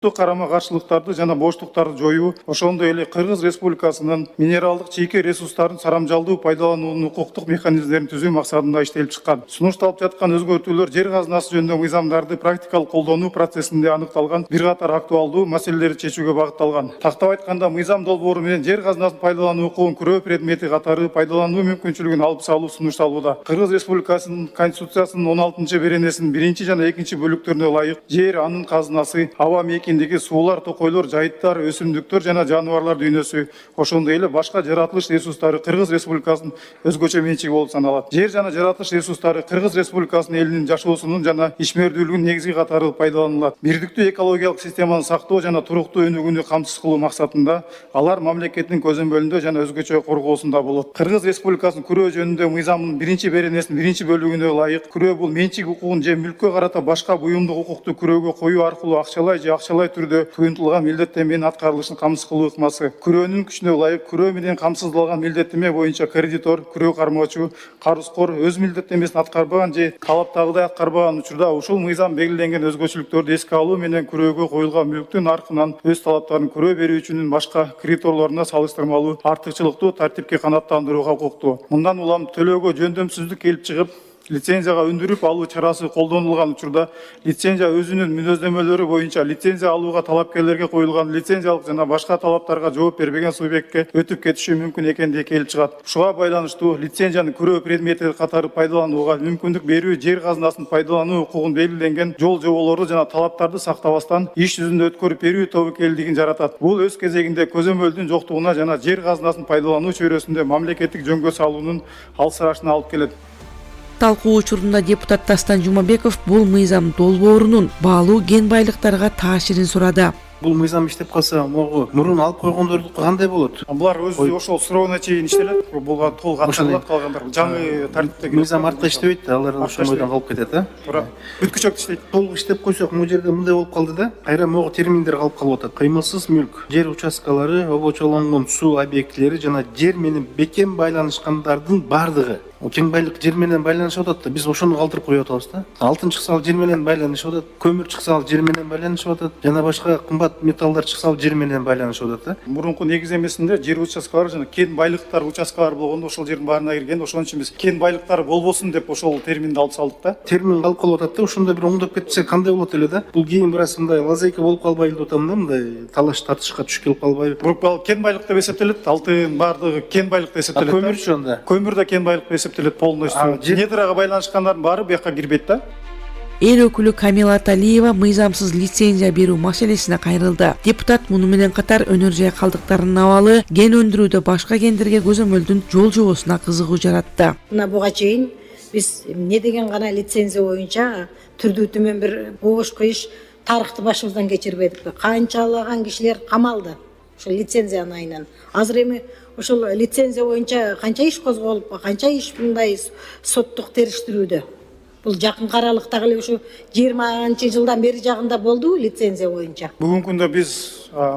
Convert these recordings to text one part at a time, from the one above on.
карама-каршылыктарды жана боштуктарды жоюу, ошондой эле Кыргыз Республикасынын минералдык чийки ресурстарын сарамжалдуу пайдалануунун укуктук механизмдерин түзүү максатында иштелип чыккан. Сунушталып жаткан өзгөртүүлөр жер казынасы жөнүндөгү мыйзамдарды практикалык колдонуу процессинде аныкталган бир катар актуалдуу маселелерди чечүүгө багытталган. Тактап айтканда, мыйзам долбоору менен жер казынасын пайдалануу укугун күрөө предмети катары пайдалануу мүмкүнчүлүгүн алып салуу сунушталууда. Кыргыз Республикасынын Конституциясынын 16-беренесинин 1 жана 2 бөлүктөрүнө ылайык жер, анын казынасы, аба мейкиндиги, суулар, токойлор, жайыттар, өсүмдүктөр жана жаныбарлар дүйнөсү, ошондой эле башка жаратылыш ресурстары Кыргыз Республикасынын өзгөчө менчиги болуп саналат. Жер жана жаратылыш ресурстары Кыргыз Республикасынын элинин жашоосунун жана ишмердүүлүгүнүн негизги катары пайдаланылат. Бирдиктүү экологиялык системаны сактоо жана туруктуу өнүгүүнү камсыз кылуу максатында алар мамлекеттин көзөмөлүндө жана өзгөчө коргоосунда болот. Кыргыз Республикасынын күрөө жөнүндө мыйзамынын 1-беренесинин 1 бөлүгүнө ылайык, күрөө бул менчик укугун же мүлккө карата башка буюмдук укукту күрөөгө коюу аркылуу акчалай же акчалай түрдө туюнтулган милдеттенменин аткарылышын камсыз кылуу ыкмасы. Күрөөнүн күчүнө ылайык, күрөө менен камсыздалган милдеттенме боюнча кредитор, күрөө кармоочу, карызкор өз милдеттенмесин аткарбаган же талаптагыдай аткарбаган учурда ушул мыйзам белгиленген өзгөчөлүктөрдү эске алуу менен күрөөгө коюлган мүлктүн наркынан өз талаптарын күрөө берүүчүнүн башка кредиторлоруна салыштырмалуу артыкчылыктуу тартипке канааттандырууга укуктуу. Мындан улам төлөөгө жөндөмсүздүк келип чыгып, лицензияга өндүрүп алуу чарасы колдонулган учурда лицензия өзүнүн мүнөздөмөлөрү боюнча лицензия алууга талапкерлерге коюлган лицензиялык жана башка талаптарга жооп бербеген субъектке өтүп кетиши мүмкүн экендиги келип чыгат. Ушуга байланыштуу лицензияны күрөө предмети катары пайдаланууга мүмкүндүк берүү жер казынасын пайдалануу укугун белгиленген жол-жоболорду жана талаптарды сактабастан иш жүзүндө өткөрүп берүү тобокелдигин жаратат. Бул өз кезегинде көзөмөлдүн жоктугуна жана жер казынасын пайдалануу чөйрөсүндө мамлекеттик жөнгө салуунун алсырашына алып келет. Талкуу учурунда депутат Дастан Жумабеков бул мыйзам долбоорунун баалуу кен байлыктарга таасирин сурады. Бул мыйзам иштеп калса, могу мурун алып койгондордуку кандай болот? Булар өзү ошол сурооуна чейин иштелет. Булга толук ачылып калгандар. Жаңы тартипте мыйзам артка иштебейт да, алар ошол бойдон калып кетет да. Туура. Бүткүчөк иштейт. Толук иштеп койсок, бул жерде мындай болуп калды да. Кайра могу терминдер калып атат. Кыймылсыз мүлк, жер участкалары, обочолонгон суу объектилери жана жер менен бекем байланышкандардын бардыгы. Кен байлык жер менен байланышып атат да, биз ошону калтырып коюп атабыз да. Алтын чыкса ал жер менен байланышып атат, көмүр чыкса ал жер менен байланышып атат, жана башка кымбат металлдар чыкса ал жер менен байланышып атат да. Мурунку негиздемесинде жер участкалары жана кен байлыктар участкалары болгондо ошол жердин баарына кирген, ошон үчүн биз кен байлыктары болбосун деп ошол терминди алып салдык да. Термин калып калып атат да, ошондо бир оңдоп кетсе кандай болот эле да. Бул кийин бир аз мындай лазейка болуп калбайлы деп атам да, мындай талаш тартышка түшүп келип калбайбы? Бул кен байлык деп эсептелет, алтын бардыгы кен байлык деп эсептелет. Көмүрчү анда? Көмүр да кен байлык деп эсептелет полностью. Недрага байланышкандардын баары буяка кирбейт да. Эл өкүлү Камила Аталиева мыйзамсыз лицензия берүү маселесине кайрылды. Депутат муну менен катар өнөр жай калдыктарынын абалы, кен өндүрүүдө башка кендерге көзөмөлдүн жол-жобосуна кызыгуу жаратты. Мына буга чейин биз эмне деген гана лицензия боюнча түрдүү түмөн бир бошко иш тарыхты башыбыздан кечирбедикпи? Канчалаган кишилер камалды ошол лицензиянын айынан. Азыр эми ошол лицензия боюнча канча иш козголуп, канча иш мындай соттук териштирүүдө. Бул жакынкы аралыктагы эле ушу 20 жылдан бери жагында болду лицензия боюнча. Бүгүнкү күндө биз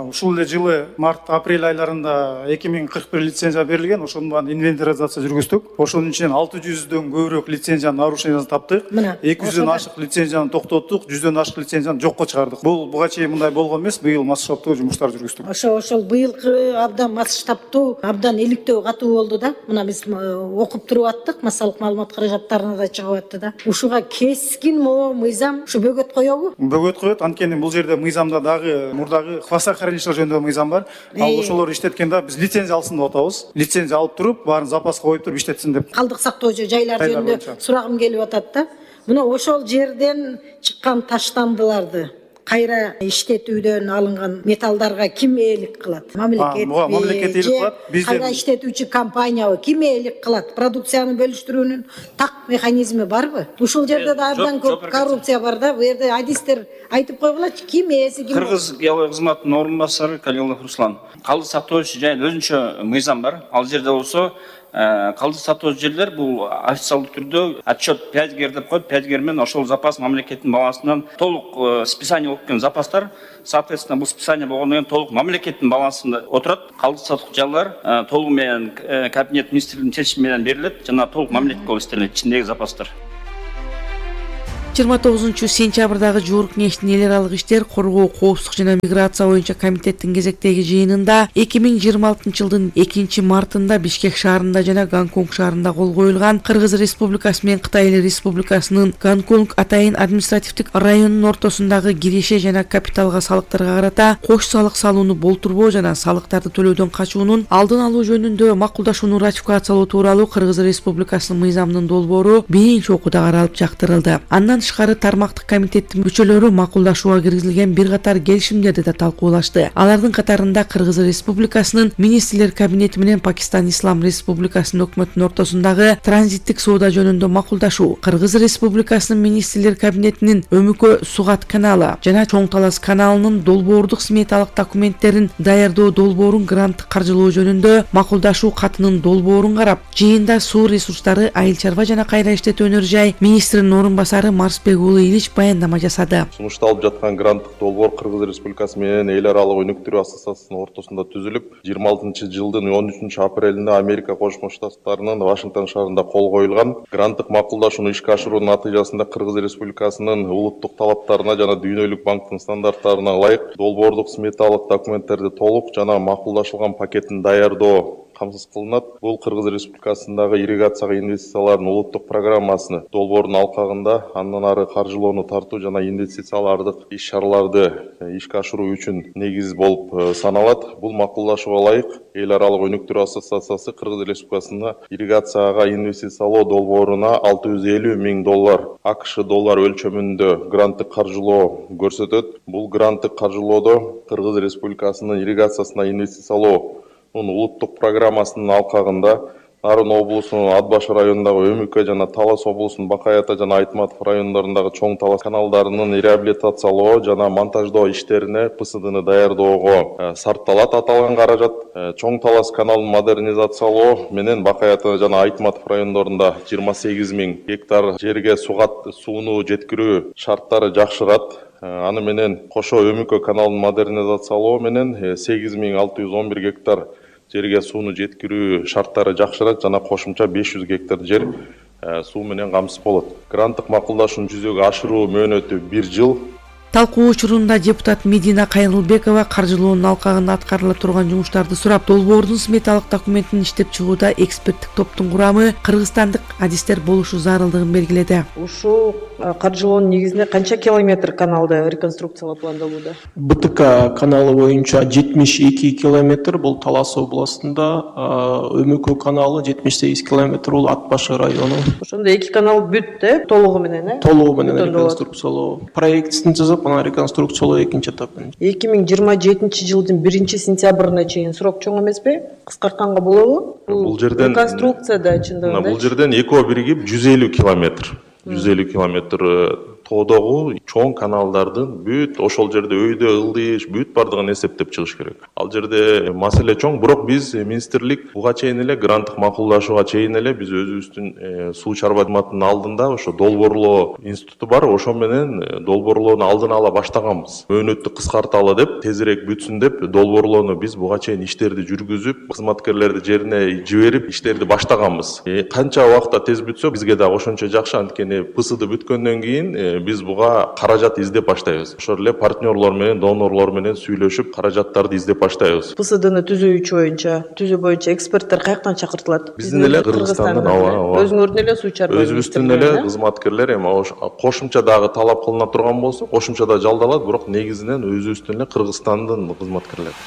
ушул эле жылы март-апрель айларында 2041 лицензия берилген, ошонун баарын инвентаризация жүргүздүк. Ошонун ичинен 600дөн көбүрөөк лицензиянын нарушениясын таптык. 200дөн ашык лицензияны токтоттук, 100дөн ашык лицензияны жокко чыгардык. Бул буга чейин мындай болгон эмес, быйыл масштабтуу жумуштар жүргүздүк. Ошол быйылкы абдан масштабтуу, абдан иликтөө катуу болду да. Мына биз окуп туруп аттык, массалык маалымат каражаттарына да чыгып атты да. Ушуга кескин мыйзам ушу бөгөт коёбу? Бөгөт коет, анткени бул жерде мыйзамда дагы мурдагы хвостохранилище жөнүндө мыйзам бар. Ал ошолорду иштеткенде биз лицензия алсын деп атабыз. Лицензия алып туруп, баарын запаска коюп туруп иштетсин деп. Калдык сактоочу жайлар жөнүндө сурагым келип атат да. Мына ошол жерден чыккан таштандыларды кайра иштетүүдөн алынган металлдарга ким ээлик кылат? Мамлекет ээлик кылат. Кайра иштетүүчү компаниябы ким ээлик кылат? Продукцияны бөлүштүрүүнүн так механизми барбы? Ушул жерде да абдан көп коррупция бар да. Бу жерде адистер айтып койгулачы, ким ээси ким? Кыргыз геология кызматынын орун басары Калилов Руслан. Калдык сактоочу жайында өзүнчө мыйзам бар. Ал жерде болсо калдык сактоочу жерлер бул официалдуу түрдө отчет 5Гер деп коет. 5Гер менен ошол запас мамлекеттин балансынан толук списание болуп кеткен запастар. Соответственно, бул списание болгондон кийин толук мамлекеттин балансында отурат. Калдык сактоочу жайлар толугу менен кабинет министрлигинин чечими менен берилет жана толук мамлекетке болуп истелет ичиндеги запастар. 29-сентябрдагы жогорку кеңештин эл аралык иштер, коргоо, коопсуздук жана миграция боюнча комитеттин кезектеги жыйынында 2026 жылдын 2-мартында Бишкек шаарында жана Гонконг шаарында кол коюлган Кыргыз Республикасы менен Кытай Эл Республикасынын Гонконг атайын административдик районунун ортосундагы киреше жана капиталга салыктарга карата кош салык салууну болтурбоо жана салыктарды төлөөдөн качуунун алдын алуу жөнүндө макулдашууну ратификациялоо тууралуу Кыргыз Республикасынын мыйзамынын долбоору биринчи окууда каралып жактырылды. Андан тышкары тармактык комитеттин мүчөлөрү макулдашууга киргизилген бир катар келишимдерди да талкуулашты. Алардын катарында Кыргыз Республикасынын министрлер кабинети менен Пакистан Ислам Республикасынын өкмөтүнүн ортосундагы транзиттик соода жөнүндө макулдашуу, Кыргыз Республикасынын министрлер кабинетинин Өмүкө Сугат каналы жана Чоң Талас каналынын долбоордук сметалык документтерин даярдоо долбоорун гранттык каржылоо жөнүндө макулдашуу катынын долбоорун карап, жыйында суу ресурстары, айыл чарба жана кайра иштетүү өнөр жай министринин орун басары Марсбек уулу Илич баяндама жасады. Сунушталып жаткан гранттык долбоор Кыргыз Республикасы менен эл аралык өнүктүрүү ассоциациясынын ортосунда түзүлүп, 26 жылдын 13 апрелинде Америка Кошмо Штаттарынын Вашингтон шаарында кол коюлган. Гранттык макулдашууну ишке ашыруунун натыйжасында Кыргыз Республикасынын улуттук талаптарына жана Дүйнөлүк банктын стандарттарына ылайык долбоордук сметалык документтерди толук жана макулдашылган пакетин даярдоо камсыз кылынат. Бул Кыргыз Республикасындагы ирригацияга инвестициялардын улуттук программасыны долбоордун алкагында андан ары каржылоону тартуу жана инвестициялардык иш-чараларды ишке ашыруу үчүн негиз болуп саналат. Бул макулдашууга ылайык эл аралык өнүктүрүү ассоциациясы Кыргыз Республикасында ирригацияга инвестициялоо долбооруна $650,000 АКШ доллар өлчөмүндө гранттык каржылоо көрсөтөт. Бул гранттык каржылоодо Кыргыз Республикасынын ирригациясына инвестициялоо улуттук программасынын алкагында Нарын облусунун Атбаш районундагы Өмүкө жана Талас облусунун Бакай Ата жана Айтматов райондорундагы Чоң Талас каналдарынын реабилитациялоо жана монтаждоо иштерине ПСДны даярдоого сарпталат. Аталган каражат Чоң Талас каналын модернизациялоо менен Бакай Ата жана Айтматов райондорунда 28,000 гектар жерге сууну жеткирүү шарттары жакшырат. Аны менен кошо Өмүкө каналын модернизациялоо менен 8,611 гектар жерге сууну жеткирүү шарттары жакшырат жана кошумча 500 гектар жер суу менен камсыз болот. Гранттык макулдашууну жүзөгө ашыруу мөөнөтү 1 жыл. Талкуу учурунда депутат Медина Кайрылбекова каржылоонун алкагында аткарыла турган жумуштарды сурап, долбоордун сметалык документин иштеп чыгууда эксперттик топтун курамы кыргызстандык адистер болушу зарылдыгын белгиледи. Ушул каржылоонун негизинде канча километр каналды реконструкциялоо пландалууда? БТК каналы боюнча 72 километр, бул Талас областында, Өмүкө каналы 78 километр, бул Атбаш району. Ошондо эки канал бүт, толугу менен, Толугу менен реконструкциялоо. Проектин жазып, ана реконструкциялоо экинчи этапын. 2027 жылдын 1-сентябрына чейин срок чоң эмеспи? Кыскартканга болобу? Бул жерден реконструкцияда чындыгында. Бул жерден экөө биригип 150 километр. 150 километр тоодогу чоң каналдардын бүт ошол жерде өйдө ылдыш бүт бардыгын эсептеп чыгыш керек. Ал жерде маселе чоң, бирок биз министрлик буга чейин эле гранттык макулдашууга чейин эле биз өзүбүздүн суу чарба кызматынын алдында ошо долбоорлоо институту бар, ошо менен долбоорлоону алдын ала баштаганбыз. Мөөнөттү кыскарталы деп, тезирээк бүтсүн деп долбоорлоону биз буга чейин иштерди жүргүзүп, кызматкерлерди жерине жиберип иштерди баштаганбыз. Канча убакта тез бүтсө бизге да ошончо жакшы, анткени ПСД бүткөндөн кийин биз буга каражат издеп баштайбыз. Ошол эле партнерлор менен, донорлор менен сүйлөшүп, каражаттарды издеп баштайбыз. ПСДны түзүү боюнча эксперттер каяктан чакыртылат? Биздин эле Кыргызстандан, өзүңөрдүн эле суу чарба өзүбүздүн эле кызматкерлер, эми кошумча дагы талап кылына турган болсо, кошумча да жалдалат, бирок негизинен өзүбүздүн эле Кыргызстандын кызматкерлери.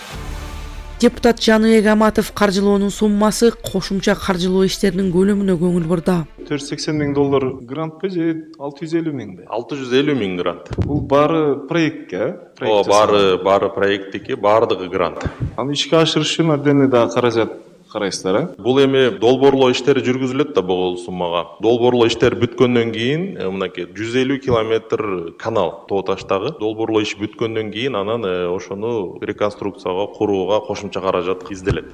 Депутат Жаныбек Аматов каржылоонун суммасы кошумча каржылоо иштеринин көлөмүнө көңүл бурду. $480,000 грантпы же 650,000? 650,000 грант. Бул баары проектке? Баары проекттики, баардыгы грант. Аны ишке ашырыш үчүн абден да каражат карайсыздар, Бул эми долбоорлоо иштери жүргүзүлөт да бул суммага. Долбоорлоо иштер бүткөндөн кийин, мынакей 150 километр канал тоо таштагы долбоорлоо иш бүткөндөн кийин анан ошону реконструкцияга курууга кошумча каражат изделет.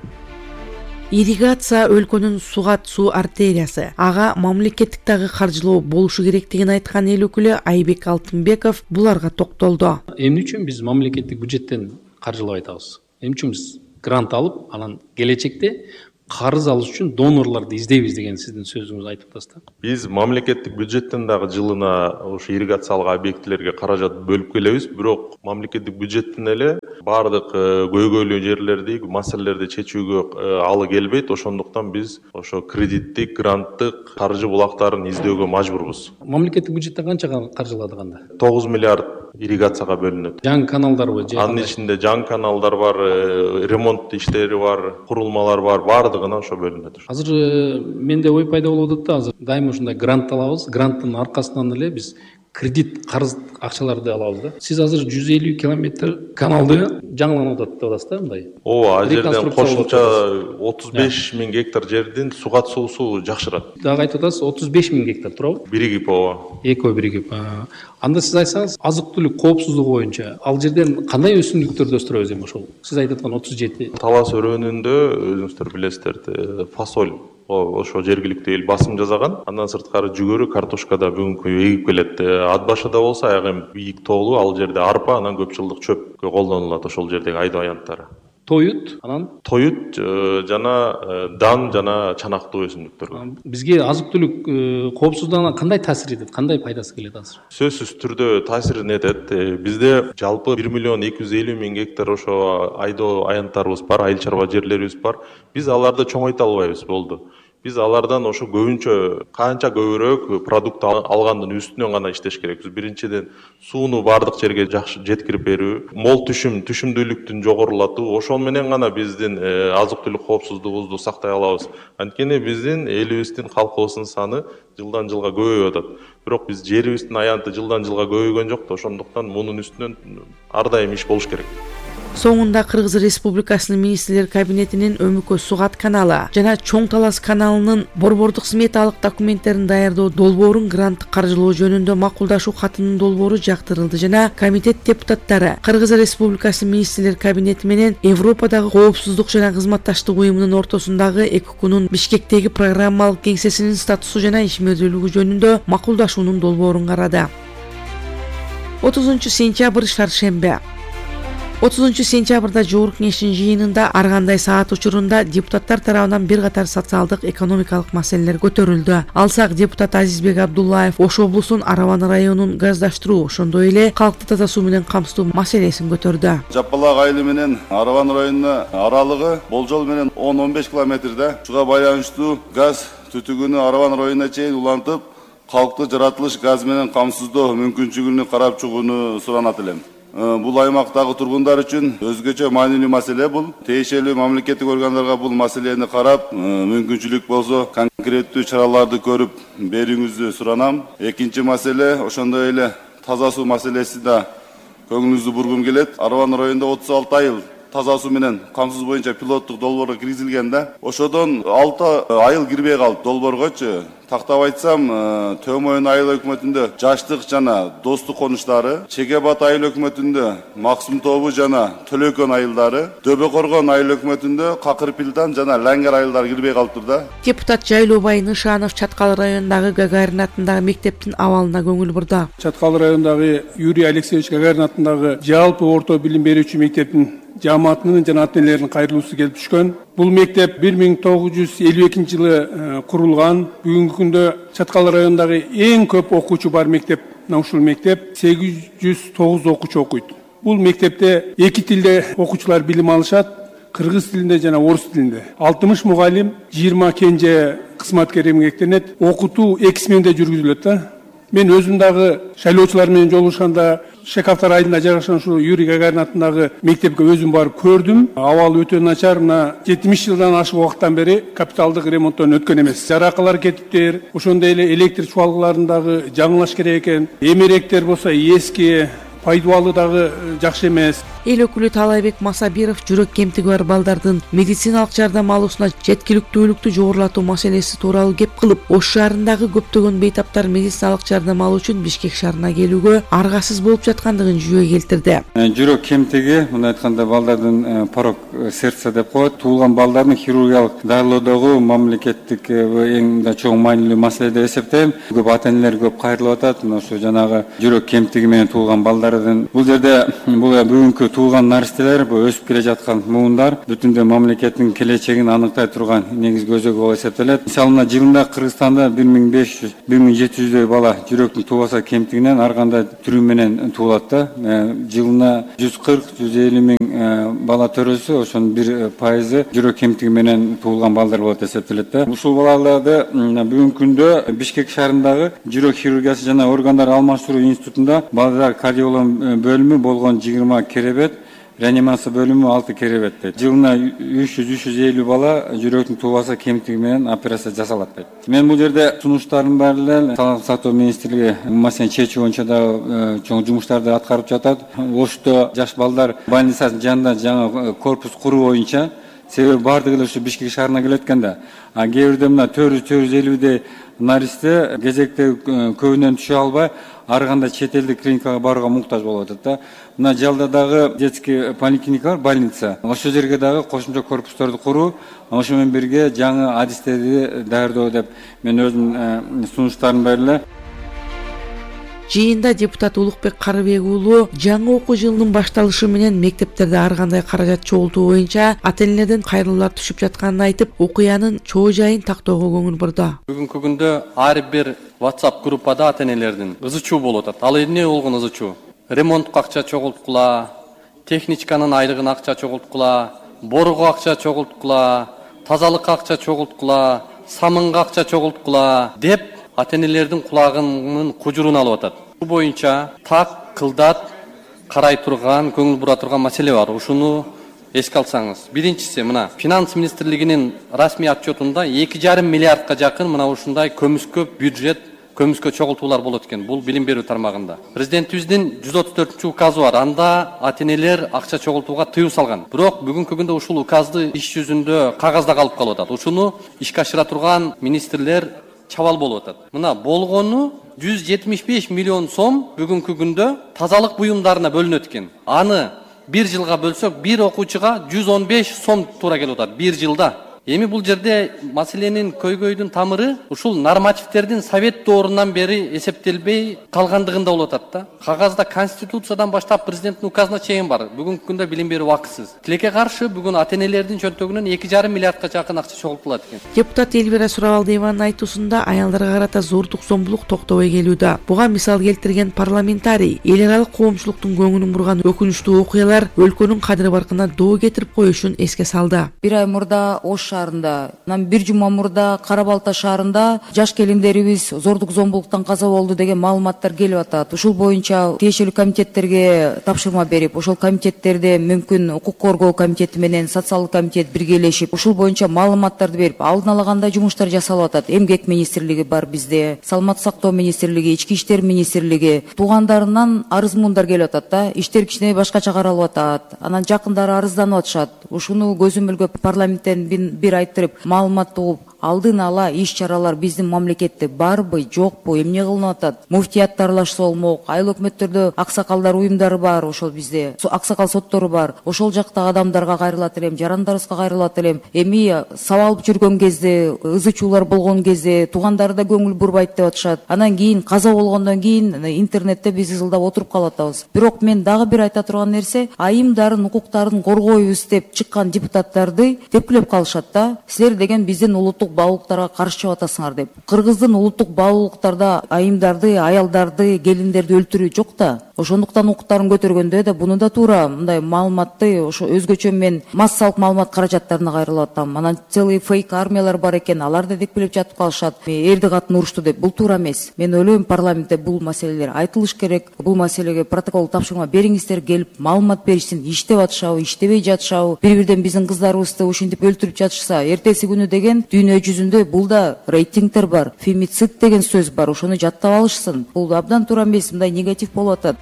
Ирригация өлкөнүн Сугат суу артериясы. Ага мамлекеттик дагы каржылоо болушу керектигин айткан эл өкүлү Айбек Алтынбеков буларга токтолду. Эмне үчүн биз мамлекеттик бюджеттен каржылап атабыз? Эмне үчүн биз грант алып, анан келечекте карыз алыш үчүн донорлорду издейбиз деген сиздин сөзүңүздү айтып атасыз да. Биз мамлекеттик бюджеттен дагы жылына ошо ирригациялык объектилерге каражат бөлүп келебиз, бирок мамлекеттик бюджеттен эле баардык көйгөйлүү жерлерди, маселелерди чечүүгө алы келбейт. Ошондуктан биз ошо кредиттик, гранттык каржы булактарын издөөгө мажбурбуз. Мамлекеттик бюджеттен канча каржылады кандай? 9 миллиард ирригацияга бөлүнөт. Жаңы каналдарбы? Анын ичинде жаңы каналдар бар, ремонт иштери бар, курулмалар бар, баардыгына ошо бөлүнөт. Азыр менде ой пайда болуп атат да, азыр дайыма ушундай грант алабыз, гранттын аркасынан эле биз кредит, карыз акчаларды алабыз да. Сиз азыр 150 километр каналды жаңыланып атат деп атасыз да, мындай. Ооба, ал жерден кошумча 35 миң гектар жердин сугат суусу жакшырат. Дагы айтып атасыз 35 миң гектар туурабы? Биригип, ооба. Экөө биригип. Анда сиз айтсаңыз, азык-түлүк коопсуздугу боюнча ал жерден кандай өсүмдүктөрдү өстүрөбүз эми ошол? Сиз айтып аткан 37. Талас өрөөнүндө өзүңүздөр билесиздер, фасоль ошо жергиликтүү эл басым жасаган. Андан сырткары жүгөрү, картошка да бүгүнкү эгип келет. Ат башыда болсо аяк эми бийик тоолуу, ал жерде арпа, анан көп жылдык чөпкө колдонулат ошол жердеги айдоо аянттары. Тоют, анан тоют жана дан жана чанактуу өсүмдүктөр. Бизге азык-түлүк коопсуздугуна кандай таасир этет, кандай пайдасы келет азыр? Сөзсүз түрдө таасирин этет. Бизде жалпы 1 миллион 250 миң гектар ошо айдоо аянттарыбыз бар, айыл чарба жерлерибиз бар. Биз аларды чоңойто албайбыз, болду. Биз алардан ошо көбүнчө канча көбүрөөк продукт алгандын үстүнөн гана иштеш керекпиз. Биринчиден сууну баардык жерге жакшы жеткирип берүү, мол түшүмдүүлүктүн жогорулатуу, ошол менен гана биздин азык-түлүк коопсуздугубузду сактай алабыз. Анткени биздин элибиздин, калкыбыздын саны жылдан жылга көбөйүп атат. Бирок биз жерибиздин аянты жылдан жылга көбөйгөн жок да, ошондуктан мунун үстүнөн ар дайым иш болуш керек. Соңунда Кыргыз Республикасынын министрлер кабинетинин Өмүкө Сугат каналы жана Чоң Талас каналынын борбордук сметалык документтерин даярдоо долбоорун гранттык каржылоо жөнүндө макулдашуу катынын долбоору жактырылды жана комитет депутаттары Кыргыз Республикасынын министрлер кабинети менен Европадагы коопсуздук жана кызматташтык уюмунун ортосундагы ЭККУнун Бишкектеги программалык кеңсесинин статусу жана ишмердүүлүгү жөнүндө макулдашуунун долбоорун карады. 30 сентябрь шаршембе. 30 сентябрда Жогорку Кеңештин жыйынында ар кандай саат учурунда депутаттар тарабынан бир катар социалдык, экономикалык маселелер көтөрүлдү. Алсак депутат Азизбек Абдуллаев Ош облусунун Араван районун газдаштыруу, ошондой эле калкты таза суу менен камсыздоо маселесин көтөрдү. Жапалак айылы менен Араван районуна аралыгы болжол менен 10-15 километрде. Шуга байланыштуу газ түтүгүнү Араван районуна чейин улантып, калкты жаратылыш газ менен камсыздоо мүмкүнчүлүгүнү карап чыгууну суранат элем. Бул аймактагы тургундар үчүн өзгөчө маанилүү маселе бул. Тиешелүү мамлекеттик органдарга бул маселени карап, мүмкүнчүлүк болсо конкреттүү чараларды көрүп берүүңүздү суранам. Экинчи маселе ошондой эле таза суу маселеси да көңүлүңүздү бургум келет. Араван районунда 36 айыл таза суу менен камсыз боюнча пилоттук долбоорго киргизилген да. Ошодон 6 айыл кирбей калды долбооргочу. Тактап айтсам, Төмөйүн айыл өкмөтүндө Жаштык жана Достук конуштары, Чегебат айыл өкмөтүндө Максым тобу жана Төлөкөн айылдары, Дөбө Коргон айыл өкмөтүндө Какырпилдан жана Лаңгер айылдары кирбей калыптыр да. Депутат Жайлообай Нышанов Чаткал районундагы Гагарин атындагы мектептин абалына көңүл бурду. Чаткал районундагы Юрий Алексеевич Гагарин атындагы жалпы орто билим берүүчү мектептин жамаатынын жана ата-энелеринин кайрылуусу келип түшкөн. Бул мектеп 1952 жылы курулган. Бүгүнкү күндө Чаткал районундагы эң көп окуучу бар мектеп. Ушул мектеп 809 окуучу окуйт. Бул мектепте эки тилде окуучулар билим алышат, кыргыз тилинде жана орус тилинде. 60 мугалим, 20 кенже кызматкер эмгектенет. Окутуу эки сменде жүргүзүлөт да. Мен өзүм дагы шайлоочулар менен жолугушканда Шекавтар айылында жайгашкан ушул Юрий Гагарин атындагы мектепке өзүм барып көрдүм. Абалы өтө начар. Мына 70 жылдан ашык убакыттан бери капиталдык ремонттон өткөн эмес. Жаракалар кетиптир. Ошондой эле электр чуалгыларындагы жаңылаш керек экен. Эмеректер болсо эски, пайдубалы дагы жакшы эмес. Эл өкүлү Талайбек Масабиров жүрөк кемтиги бар балдардын медициналык жардам алуусуна жеткиликтүүлүктү жогорулатуу маселеси тууралуу кеп кылып, Ош шаарындагы көптөгөн бейтаптар медициналык жардам алуу үчүн Бишкек шаарына келүүгө аргасыз болуп жаткандыгын жүйө келтирди. Жүрөк кемтиги, мына айтканда балдардын порок сердца деп коет, туулган балдардын хирургиялык дарылоодогу мамлекеттик эң да чоң маанилүү маселе деп эсептейм. Көп ата-энелер көп кайрылып атат. Ошо жанагы жүрөк кемтиги менен туулган балдар баарыдын бул жерде бул бүгүнкү туулган наристелер, бул өсүп келе жаткан муундар бүтүндөй мамлекеттин келечегин аныктай турган негизги өзөгү болуп эсептелет. Мисалына жылында Кыргызстанда 1500-1700дөй бала жүрөктүн туубаса кемтигинен ар кандай түрү менен туулат да. Жылына 140-150 миң бала төрөсө, ошонун 1% жүрөк кемтиги менен туулган балдар болот эсептелет да. Ушул балаларды бүгүнкү күндө Бишкек шаарындагы жүрөк хирургиясы жана органдар алмаштыруу институтунда балдар кардиолог бөлүмү болгон 20 керебет, реанимация бөлүмү 6 керебетте. Жылына 300-350 бала жүрөктүн туубаса кемтиги менен операция жасалат дейт. Мен бул жерде сунуштардын баары эле Саламаттык сактоо министрлиги маселени чечүү боюнча да чоң жумуштарды аткарып жатат. Ошто жаш балдар больницасынын жанында жаңы корпус куруу боюнча, себеби баардыгы эле ушу Бишкек шаарына келет экен да. А кээ бирде мына 400-450дей наристе кезекте көбүнөн түшө албай, ар кандай чет элдик клиникага барууга муктаж болуп атат да. Мына Жалда дагы детский поликлиника бар, больница. Ошол жерге дагы кошумча корпустарды куруу, ошо менен бирге жаңы адистерди даярдоо деп мен өзүмдүн сунуштарым бар эле. Жыйында депутат Улукбек Карыбек уулу жаңы окуу жылынын башталышы менен мектептерде ар кандай каражат чогултуу боюнча ата-энелерден кайрылуулар түшүп жатканын айтып, окуянын чоо жайын тактоого көңүл бурду. Бүгүнкү күндө ар бир WhatsApp группада ата-энелердин ызы чуу болуп атат. Ал эмне болгон ызы чуу? Ремонтко акча чогулткула, техничканын айлыгына акча чогулткула, боруга акча чогулткула, тазалыкка акча чогулткула, самынга акча чогулткула деп ата-энелердин кулагынын кужурун алып атат. Бул боюнча так, кылдат карай турган, көңүл бура турган маселе бар. Ушуну эске алсаңыз. Биринчиси мына Финанс министрлигинин расмий отчетунда 2,5 миллиардка жакын мына ушундай көмүскө бюджет, көмүскө чогултуулар болот экен. Бул билим берүү тармагында. Президентибиздин 134-указы бар. Анда ата-энелер акча чогултууга тыюу салган. Бирок бүгүнкү күндө ушул указды иш жүзүндө кагазда калып атат. Ушуну ишке ашыра турган министрлер чабал болуп атат. Мына болгону 175 миллион сом бүгүнкү күндө тазалык буюмдарына бөлүнөт экен. Аны бир жылга бөлсөк, бир окуучуга 115 сом туура келип атат бир жылда. Эми бул жерде маселенин көйгөйдүн тамыры ушул нормативдердин совет доорунан бери эсептелбей калгандыгында болуп атат да. Кагазда конституциядан баштап президенттин указына чейин бар. Бүгүнкү күндө билим берүү убакытсыз. Тилекке каршы бүгүн ата-энелердин чөнтөгүнөн 2,5 миллиардка жакын акча чогултулат экен. Депутат Элвира Сурабалдиеванын айтуусунда аялдарга карата зордук зомбулук токтобой келүүдө. Буга мисал келтирген парламентарий эл аралык коомчулуктун көңүлүн бурган өкүнүчтүү окуялар өлкөнүн кадыр баркына доо кетирип коюшун эске салды. Бир ай мурда Ош шаарында, бир жума мурда Кара Балта шаарында жаш келиндерибиз зордук зомбулуктан каза болду деген маалыматтар келип атат. Ушул боюнча тиешелүү комитеттерге тапшырма берип, ошол комитеттерде мүмкүн укук коргоо комитети менен социалдык комитет биргелешип, ушул боюнча маалыматтарды берип, алдын ала кандай жумуштар жасалып атат. Эмгек министрлиги бар бизде, Саламаттык сактоо министрлиги, Ички иштер министрлиги, туугандарынан арыз-муундар келип атат да. Иштер кичине башкача каралып атат. Анан жакындары арызданып атышат. Ушуну көзөмөлгөп парламенттен бир айттырып, маалымат угуп, алдын ала иш чаралар биздин мамлекетте барбы, жокпу, эмне кылынып атат? Муфтият аралашса болмок, айыл өкмөттөрдө аксакалдар уюмдары бар, ошол бизде аксакал соттору бар. Ошол жактагы адамдарга кайрылат элем, жарандарыбызга кайрылат элем. Эми сабалып жүргөн кезде, ызы чуулар болгон кезде туугандары да көңүл бурбайт деп атышат. Анан кийин каза болгондон кийин интернетте биз ызылдап отуруп калып атабыз. Бирок мен дагы бир айта турган нерсе, айымдардын укуктарын коргойбуз деп чыккан депутаттарды тепкилеп калышат да. Силер деген биздин улуттук баалуулуктарга каршы чыгып атасыңар деп. Кыргыздын улуттук баалуулуктарда айымдарды, аялдарды, келиндерди өлтүрүү жок да. Ошондуктан укуктарын көтөргөндө да буну да туура мындай маалыматты ошо өзгөчө мен массалык маалымат каражаттарына кайрылып атам. Анан целый фейк армиялар бар экен, алар да тепкилеп жатып калышат. Эрди катын урушту деп. Бул туура эмес. Мен ойлойм, парламентте бул маселелер айтылыш керек. Бул маселеге протокол тапшырма бериңиздер, келип маалымат беришсин. Иштеп атышабы, иштебей жатышабы, бири-бирден биздин кыздарыбызды ушинтип өлтүрүп жатышса, эртеси күнү деген дүйнө жүзүндө бул да рейтингтер бар, фемицид деген сөз бар, ошону жаттап алышсын. Бул абдан туура эмес, мындай негатив болуп атат.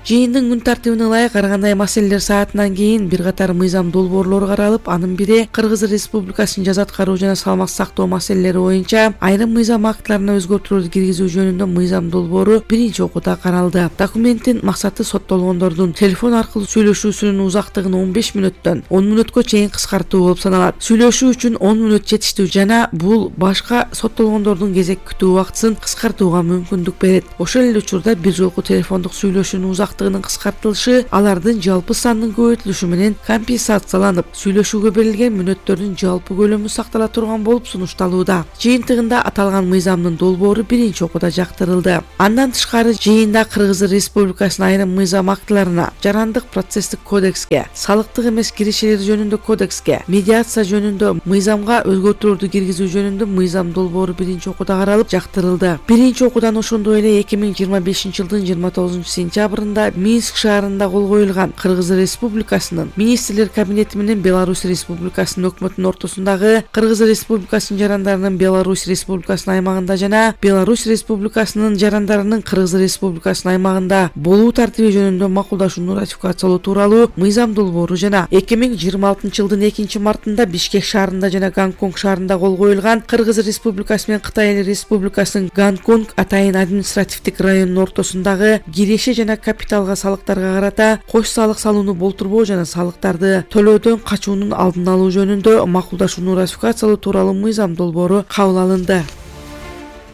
Жыйындын күн тартибине ылайык ар кандай маселелер саатынан кийин бир катар мыйзам долбоорлору каралып, анын бири Кыргыз Республикасынын жаза аткаруу жана салмак сактоо маселелери боюнча айрым мыйзам актыларына өзгөртүүлөрдү киргизүү жөнүндө мыйзам долбоору биринчи окууда каралды. Документтин максаты соттолгондордун телефон аркылуу сүйлөшүүсүнүн узактыгын 15 мүнөттөн 10 мүнөткө чейин кыскартуу болуп саналат. Сүйлөшүү үчүн 10 мүнөт жетиштүү жана бул башка соттолгондордун кезек күтүү убактысын кыскартууга мүмкүндүк берет. Ошол эле учурда бир жолку телефондук сүйлөшүүнүн узактыгынын кыскартылышы алардын жалпы сандын көбөйтүлүшү менен компенсацияланып, сүйлөшүүгө берилген мүнөттөрдүн жалпы көлөмү сактала турган болуп сунушталууда. Жыйынтыгында аталган мыйзамдын долбоору биринчи окууда жактырылды. Андан тышкары жыйында Кыргыз Республикасынын айрым мыйзам актыларына, жарандык процесстик кодекске, салыктык эмес киришелер жөнүндө кодекске, медиация жөнүндө мыйзамга өзгөртүүлөрдү киргизүү жөнүндө мыйзам долбоору биринчи окууда каралып жактырылды. Биринчи окуудан ошондой эле 2025 жылдын 29 сентябрында Минск шаарында кол коюлган Кыргыз Республикасынын Министрлер кабинети менен Беларусь Республикасынын өкмөтүнүн ортосундагы Кыргыз Республикасынын жарандарынын Беларусь Республикасынын аймагында жана Беларусь Республикасынын жарандарынын Кыргыз Республикасынын аймагында болуу тартиби жөнүндө макулдашууну ратификациялоо тууралуу мыйзам долбоору жана 2026 жылдын 2 мартында Бишкек шаарында жана Гонконг шаарында кол коюлган Кыргыз Республикасы менен Кытай Республикасынын Гонконг атайын административдик районунун ортосундагы киреше жана капиталга салыктарга карата кош салык салууну болтурбоо жана салыктарды төлөөдөн качуунун алдын алуу жөнүндө макулдашууну ратификациялоо тууралуу мыйзам долбоору кабыл алынды.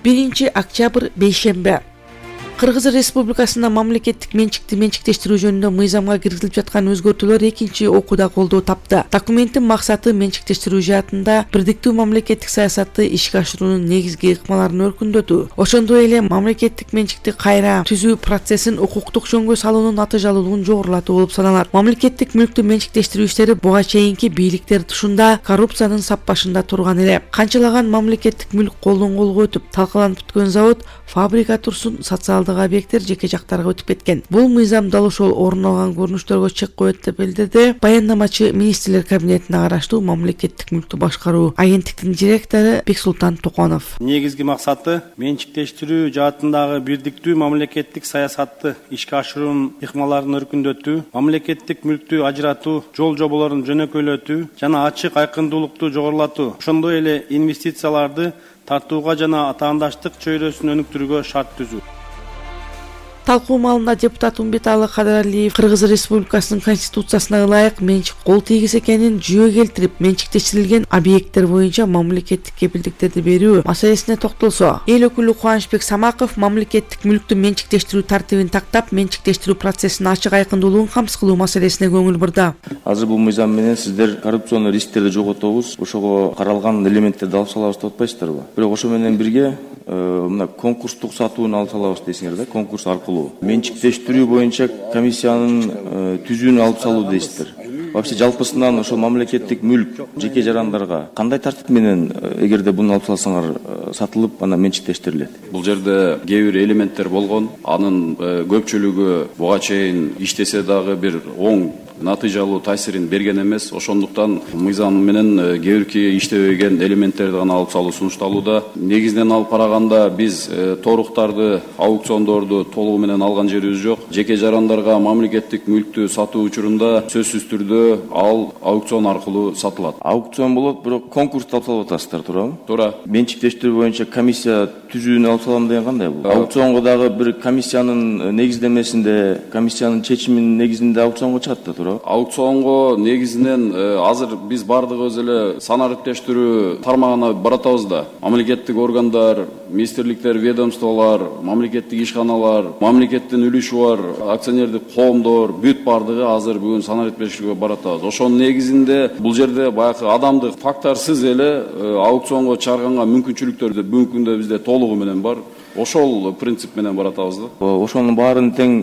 1 октябрь бейшемби Кыргыз Республикасында мамлекеттик менчикти менчиктештирүү жөнүндө мыйзамга киргизилип жаткан өзгөртүүлөр экинчи окууда колдоо тапты. Документтин максаты менчиктештирүү жаатында бирдиктүү мамлекеттик саясатты ишке ашыруунун негизги ыкмаларын өркүндөтүү, ошондой эле мамлекеттик менчикти кайра түзүү процессин укуктук жөнгө салуунун натыйжалуулугун жогорулатуу болуп саналат. Мамлекеттик мүлктү менчиктештирүү иштери буга чейинки бийликтер тушунда коррупциянын саппашында турган эле. Канчалаган мамлекеттик мүлк колдон колго өтүп, талкаланып бүткөн завод, фабрика турсун, социалдык объекттер жеке жактарга өтүп кеткен. Бул мыйзам дал ошол орун алган көрүнүштөргө чек коет деп билдирди баяндамачы Министрлер кабинетине караштуу мамлекеттик мүлктү башкаруу агенттиктин директору Бексултан Токонов. Негизги максаты менчиктештирүү жаатындагы бирдиктүү мамлекеттик саясатты ишке ашыруунун ыкмаларын өркүндөтүү, мамлекеттик мүлктү ажыратуу, жол жоболорун жөнөкөйлөтүү жана ачык айкындуулукту жогорулатуу, ошондой эле инвестицияларды тартууга жана атаандаштык чөйрөсүн өнүктүрүүгө шарт түзүү. Талкуу маалында депутат Умбеталы Кадыралиев Кыргыз Республикасынын конституциясына ылайык менчик кол тийгиз экенин жүйө келтирип, менчиктештирилген объекттер боюнча мамлекеттик кепилдиктерди берүү маселесине токтолсо, эл өкүлү Кубанычбек Самаков мамлекеттик мүлктү менчиктештирүү тартибин тактап, менчиктештирүү процессинин ачык айкындуулугун камсыз кылуу маселесине көңүл бурду. Азыр бул мыйзам менен сиздер коррупционный рисктерди жоготобуз, ошого каралган элементтерди алып салабыз деп атпайсыздарбы? Бирок ошо менен бирге мына конкурстук сатууну алып салабыз дейсиңер да, конкурс аркылуу менчиктештирүү боюнча комиссиянын түзүүнү алып салуу дейсиздер. Вообще жалпысынан ошол мамлекеттик мүлк жеке жарандарга кандай тартип менен эгерде буну алып салсаңар сатылып, анан менчиктештирилет? Бул жерде кээ бир элементтер болгон, анын көпчүлүгү буга чейин иштесе дагы бир оң натыйжалуу таасирин берген эмес. Ошондуктан мыйзам менен кээ бирки иштебеген элементтерди гана алып салуу сунушталууда. Негизинен алып караганда биз торуктарды, аукциондорду толугу менен алган жерибиз жок. Жеке жарандарга мамлекеттик мүлктү сатуу учурунда сөзсүз түрдө ал аукцион аркылуу сатылат. Аукцион болот, бирок конкурсту алып салып атасыздар, туурабы? Туура. Менчиктештирүү боюнча комиссия түзүүнү алып салам деген кандай бул? Аукционго дагы бир комиссиянын негиздемесинде, комиссиянын чечиминин негизинде аукционго чыгат да, туурабы? Аукционго негизинен азыр биз бардыгыбыз эле санариптештирүү тармагына баратабыз да. Мамлекеттик органдар, министрликтер, ведомстволор, мамлекеттик ишканалар, мамлекеттин үлүшү бар акционердик коомдор бүт бардыгы азыр бүгүн санариптештирүүгө баратабыз. Ошонун негизинде бул жерде баягы адамдык факторсуз эле аукционго чыгарганга мүмкүнчүлүктөр бүгүнкү күндө бизде толугу менен бар. Ошол принцип менен баратабыз да. Ошонун баарын тең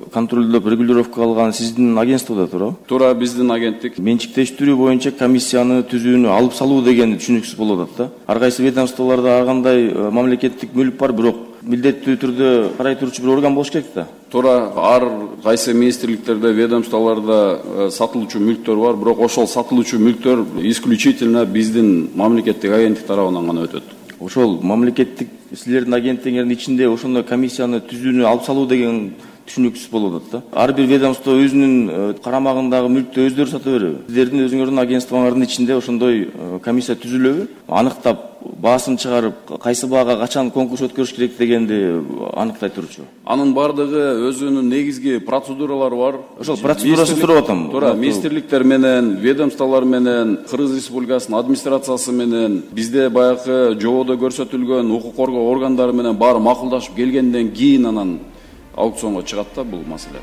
контролдоп, регулировка алган сиздин агентстводо, туурабы? Туура, биздин агенттик. Менчиктештирүү боюнча комиссияны түзүүнү алып салуу деген түшүнүксүз болуп атат да. Ар кайсы ведомстволордо ар кандай мамлекеттик мүлк бар, бирок милдеттүү түрдө карай турчу бир орган болуш керек да. Туура, ар кайсы министрликтерде, ведомстволордо сатылуучу мүлктөр бар, бирок ошол сатылуучу мүлктөр исключительно биздин мамлекеттик агенттик тарабынан гана өтөт. Ошол мамлекеттик силердин агенттигиңердин ичинде ошондой комиссияны түзүүнү алып салуу деген түшүнүксүз болуп атат да. Ар бир ведомство өзүнүн карамагындагы мүлктү өздөрү сата береби? Сиздердин өзүңөрдүн агентствоңардын ичинде ошондой комиссия түзүлөбү? Аныктап баасын чыгарып, кайсы баага качан конкурс өткөрүш керек дегенди аныктай турчу. Анын бардыгы өзүнүн негизги процедуралары бар. Ошол процедурасын сурап атам. Туура, министрликтер менен, ведомстволор менен, Кыргыз Республикасынын администрациясы менен, бизде баягы жободо көрсөтүлгөн укук коргоо органдары менен баары макулдашып келгенден кийин анан аукционго чыгат да бул маселе.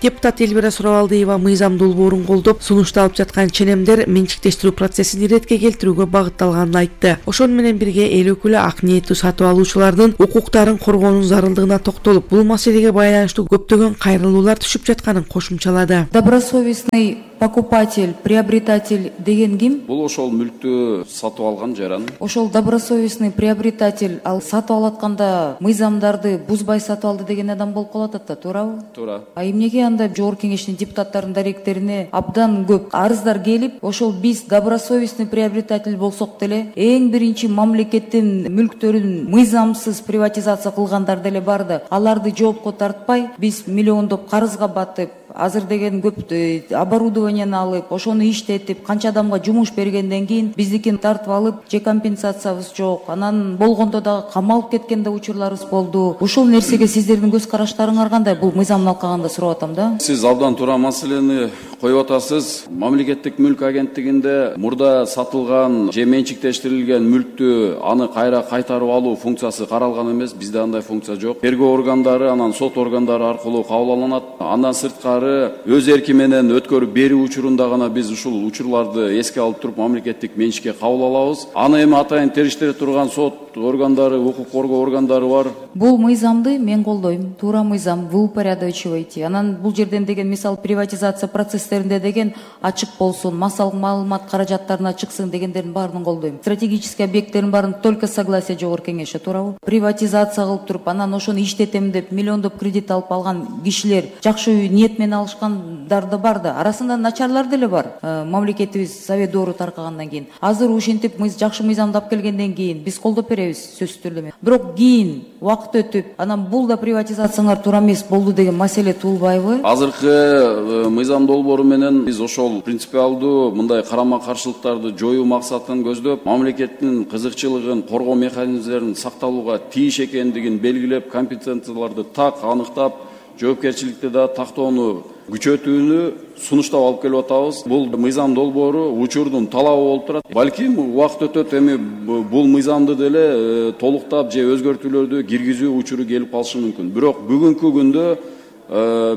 Депутат Эльвира Сурабалдиева мыйзам долбоорун колдоп, сунушталып жаткан ченемдер менчиктештирүү процессин иретке келтирүүгө багытталганын айтты. Ошону менен бирге эл өкүлү ак ниеттүү сатып алуучулардын укуктарын коргоонун зарылдыгына токтолуп, бул маселеге байланыштуу көптөгөн кайрылуулар түшүп жатканын кошумчалады. Добросовестный покупатель, приобретатель деген ким? Бул ошол мүлктү сатып алган жаран. Ошол добросовестный приобретатель ал сатып алатканда мыйзамдарды бузбай сатып алды деген адам болуп калат да, туурабы? Туура. А эмнеге анда жогорку кеңештин депутаттарынын даректерине абдан көп арыздар келип, ошол биз добросовестный приобретатель болсок деле эң биринчи мамлекеттин мүлктөрүн мыйзамсыз приватизация кылгандар деле бар да, аларды жоопко тартпай биз миллиондоп карызга батып, азыр деген көп оборудованияны алып, ошону иштетип, канча адамга жумуш бергенден кийин биздикин тартып алып, же компенсациябыз жок. Анан болгондо дагы камалып кеткен да учурларыбыз болду. Ушул нерсеге сиздердин көз караштарыңар кандай? Бул мыйзамын алкаганда сурап атам да. Сиз абдан туура маселени коюп атасыз. Мамлекеттик мүлк агенттигинде мурда сатылган же менчиктештирилген мүлктү аны кайра кайтарып алуу функциясы каралган эмес. Бизде андай функция жок. Тергөө органдары, анан сот органдары аркылуу кабыл алынат. Андан сырткары өз эрки менен өткөрүп берүү учурунда гана биз ушул учурларды эске алып туруп мамлекеттик менчикке кабыл алабыз. Аны эми атайын териштире турган сот органдары, укук коргоо органдары бар. Бул мыйзамды мен колдойм. Туура мыйзам, вы упорядочивайте. Анан бул жерден деген мисал приватизация процесстеринде деген ачык болсун, маалымат каражаттарына чыксын дегендердин баарын колдойм. Стратегический объекттердин баарын только согласие жогорку кеңеште, туурабы? Приватизация кылып туруп, анан ошону иштетем деп миллиондоп кредит алып алган кишилер жакшы ниет менен алышкандар да бар да. Арасында начарлар деле бар. Мамлекетибиз совет доору таркагандан кийин. Азыр ушинтип жакшы мыйзамдап келгенден кийин биз колдоп беребиз сөзсүз түрдө. Бирок кийин убакыт өтүп, анан бул да приватизацияңар туура эмес болду деген маселе туулбайбы? Азыркы мыйзам долбоору менен биз ошол принципиалдуу мындай карама каршылыктарды жоюу максатын көздөп, мамлекеттин кызыкчылыгын коргоо механизмдерин сакталууга тийиш экендигин белгилеп, компетенцияларды так аныктап, жоопкерчиликти да тактоону күчөтүүнү сунуштап алып келип атабыз. Бул мыйзам долбоору учурдун талабы болуп турат. Балким убакыт өтөт, эми бул мыйзамды деле толуктап же өзгөртүүлөрдү киргизүү учуру келип калышы мүмкүн. Бирок бүгүнкү күндө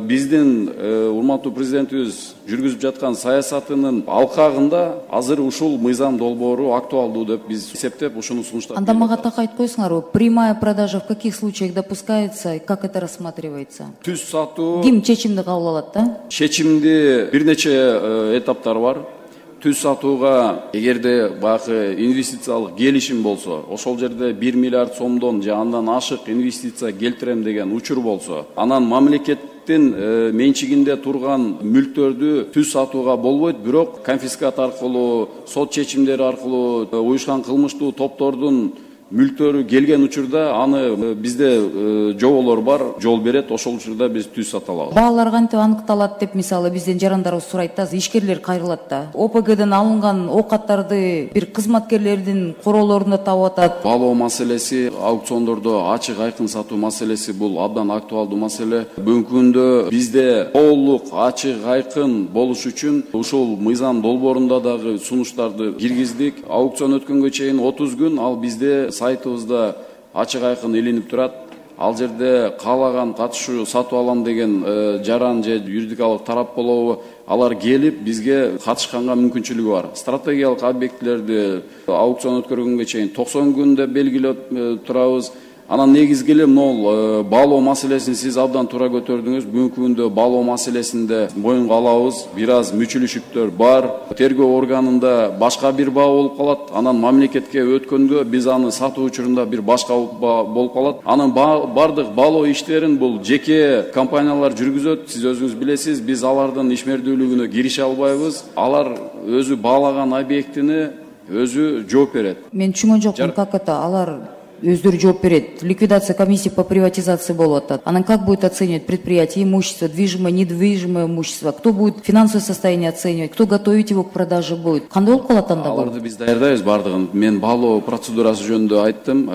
биздин урматтуу президентибиз жүргүзүп жаткан саясатынын алкагында азыр ушул мыйзам долбоору актуалдуу деп биз эсептеп ушуну сунуштап. Анда мага так айтып койсуңарбы, прямая продажа в каких случаях допускается и как это рассматривается? Түз сатуу. Ким чечимди кабыл алат да? Чечимди бир нече этаптар бар. Түз сатууга эгерде баягы инвестициялык келишим болсо, ошол жерде 1 миллиард сомдон же андан ашык инвестиция келтирем деген учур болсо, анан мамлекеттин менчигинде турган мүлктөрдү түз сатууга болбойт, бирок конфискат аркылуу, сот чечимдери аркылуу уюшкан кылмыштуу топтордун мүлктөрү келген учурда аны бизде жоболор бар, жол берет, ошол учурда биз түз сата алабыз. Баалар кантип аныкталат деп мисалы бизден жарандарыбыз сурайт да, ишкерлер кайрылат да. ОПГден алынган оокаттарды бир кызматкерлердин короолорунда таап атат. Баалоо маселеси, аукциондордо ачык айкын сатуу маселеси бул абдан актуалдуу маселе. Бүгүнкү күндө бизде толук ачык айкын болуш үчүн ушул мыйзам долбоорунда дагы сунуштарды киргиздик. Аукцион өткөнгө чейин 30 күн ал бизде сайтыбызда ачык айкын илинип турат. Ал жерде каалаган катышуу сатып алам деген жаран же юридикалык тарап болобу, алар келип бизге катышканга мүмкүнчүлүгү бар. Стратегиялык объектилерди аукцион өткөргөнгө чейин 90 күндө белгилеп турабыз. Анан негизги эле могул баалоо маселесин сиз абдан туура көтөрдүңүз. Бүгүнкү күндө баалоо маселесинде моюнга алабыз. Бир аз мүчүлүшүктөр бар. Тергөө органында башка бир баа болуп калат. Анан мамлекетке өткөнгө биз аны сатуу учурунда бир башка болуп калат. Анын бардык баалоо иштерин бул жеке компаниялар жүргүзөт. Сиз өзүңүз билесиз, биз алардын ишмердүүлүгүнө кирише албайбыз. Алар өзү баалаган объектини өзү жооп берет. Мен түшүнгөн жокмун, как это алар өздөрү жооп берет. Ликвидация комиссии по приватизации болуп атат. Анан как будет оценивать предприятие, имущество, движимое, недвижимое имущество, кто будет финансовое состояние оценивать, кто готовить его к продаже будет. Кандай болуп калат анда бул? Аларды биз даярдайбыз бардыгын. Мен баалоо процедурасы жөнүндө айттым.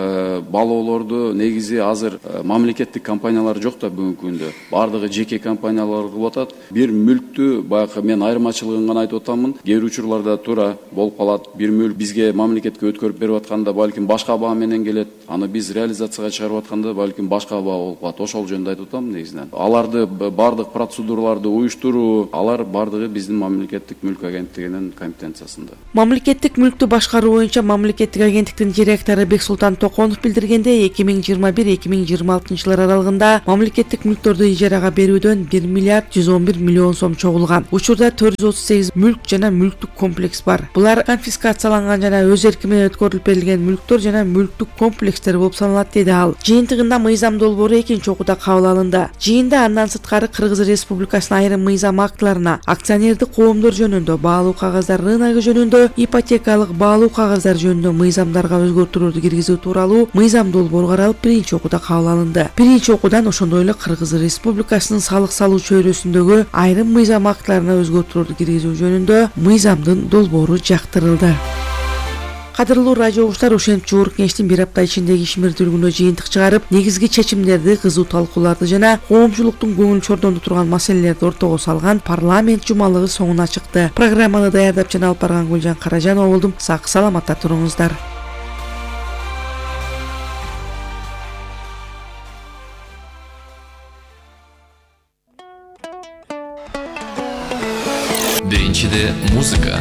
Баалоолорду негизи азыр мамлекеттик компаниялар жок да бүгүнкү күндө. Бардыгы жеке компаниялар кылып атат. Бир мүлктү баягы мен айырмачылыгын гана айтып атамын. Кээ бир учурларда туура болуп калат. Бир мүлк бизге мамлекетке өткөрүп берип атканда балким башка баа менен келет. Аны биз реализацияга чыгарып атканда балким башка баа болуп калат. Ошол жөнүндө айтып атам негизинен. Аларды бардык процедураларды уюштуруу, алар бардыгы биздин мамлекеттик мүлк агенттигинин компетенциясында. Мамлекеттик мүлктү башкаруу боюнча мамлекеттик агенттиктин директору Бексултан Токонов билдиргендей, 2021-2026 жылдар аралыгында мамлекеттик мүлктөрдү ижарага берүүдөн 1 миллиард 111 миллион сом чогулган. Учурда 438 мүлк жана мүлктүк комплекс бар. Булар конфискацияланган жана өз эрки менен өткөрүлүп берилген мүлктөр жана мүлктүк комплекстер болуп саналат, деди ал. Жыйынтыгында мыйзам долбоору экинчи окууда кабыл алынды. Жыйында андан сырткары Кыргыз Республикасынын айрым мыйзам актыларына акционердик коомдор жөнүндө, баалуу кагаздар рыногу жөнүндө, ипотекалык баалуу кагаздар жөнүндө мыйзамдарга өзгөртүүлөрдү киргизүү тууралуу мыйзам долбоору каралып, биринчи окууда кабыл алынды. Биринчи окуудан ошондой эле Кыргыз Республикасынын салык салуу чөйрөсүндөгү айрым мыйзам актыларына өзгөртүүлөрдү киргизүү жөнүндө мыйзамдын долбоору жактырылды. Кадырлуу радио угуштар, ошентип жогорку кеңештин бир апта ичиндеги ишмердүүлүгүнө жыйынтык чыгарып, негизги чечимдерди, кызуу талкууларды жана коомчулуктун көңүл чордондо турган маселелерди ортого салган парламент жумалыгы соңуна чыкты. Программаны даярдап жана алып барган Гүлжан Каражанова болдум. Сак саламатта туруңуздар. Биринчиде музыка.